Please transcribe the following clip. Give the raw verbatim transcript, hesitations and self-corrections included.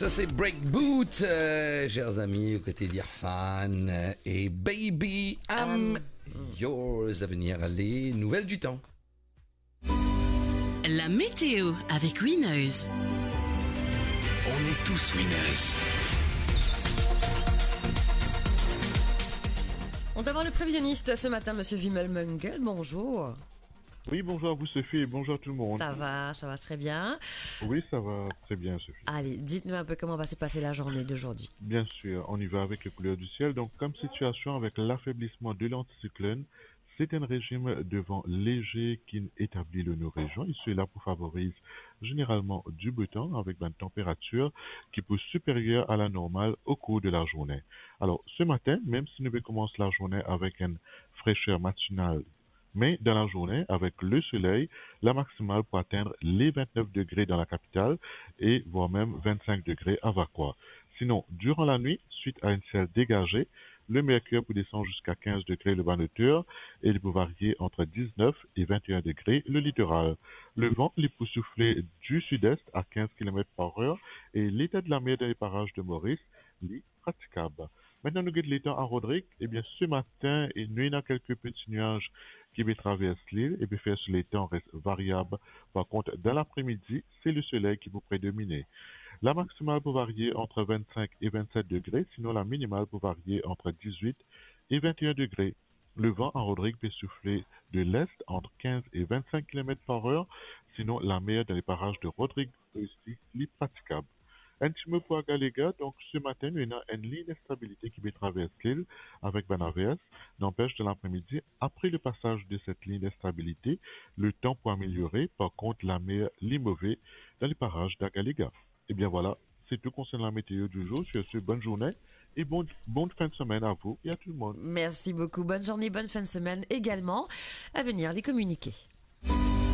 Ça, c'est Break Boot, euh, chers amis, aux côtés d'Irfan, euh, et Baby, I'm Yours. À venir, les nouvelles du temps. La météo avec Winners. On est tous winners. On va voir le prévisionniste ce matin, monsieur Vimal Mungal. Bonjour. Oui, bonjour à vous, Sophie, et bonjour à tout le monde. Ça va, ça va très bien. Oui, ça va très bien, Sophie. Allez, dites-nous un peu comment va se passer la journée d'aujourd'hui. Bien sûr, on y va avec les couleurs du ciel. Donc, comme situation avec l'affaiblissement de l'anticyclone, c'est un régime de vent léger qui établit le nos régions. Et cela pour favoriser généralement du beau temps avec une température qui peut supérieure à la normale au cours de la journée. Alors, ce matin, même si nous commençons la journée avec une fraîcheur matinale, mais dans la journée, avec le soleil, la maximale peut atteindre les vingt-neuf degrés dans la capitale et voire même vingt-cinq degrés à Vacoas. Sinon, durant la nuit, suite à un ciel dégagé, le mercure peut descendre jusqu'à quinze degrés le Vanuatu et il peut varier entre dix-neuf et vingt et un degrés le littoral. Le vent, li pou soufle du sud-est à quinze kilomètres par heure et l'état de la mer dans les parages de Maurice, li pratikab. Maintenant, nou get letan a Rodrig. Ebien, ce matin, nou ena kelke peti nwaz ki pe travers lil e pe fer so letan res variab. Par kont, dan lapre-midi, se le soley ki pou predomine. La maximale pou varie ant vennsenk e vennset degre, sinon la minimale pou varie ant diz-wit e vennenn degre. Le van a Rodrig pe soufle de lest ant kinz e vennsenk kilomet par er, sinon lamer dan le paraz de Rodrig osi li pratikab. Enn ti mo pou Agalega, donk se matin nou ena enn lign instabilite ki pe travers lil avek bann avers. Nanpes, dan lapre-midi, apre le pasaz de set lign instabilite, letan pou ameliore, par kont lamer li move dan le paraz d'Agalega. Ebien vwala, se tou konsernan la meteo du jour. Sur ce, bonne journée et bon, bonne fin de semaine à vous et à tout le monde. Merci beaucoup. Bonne journée, bonne fin de semaine également. À venir, les communiqués.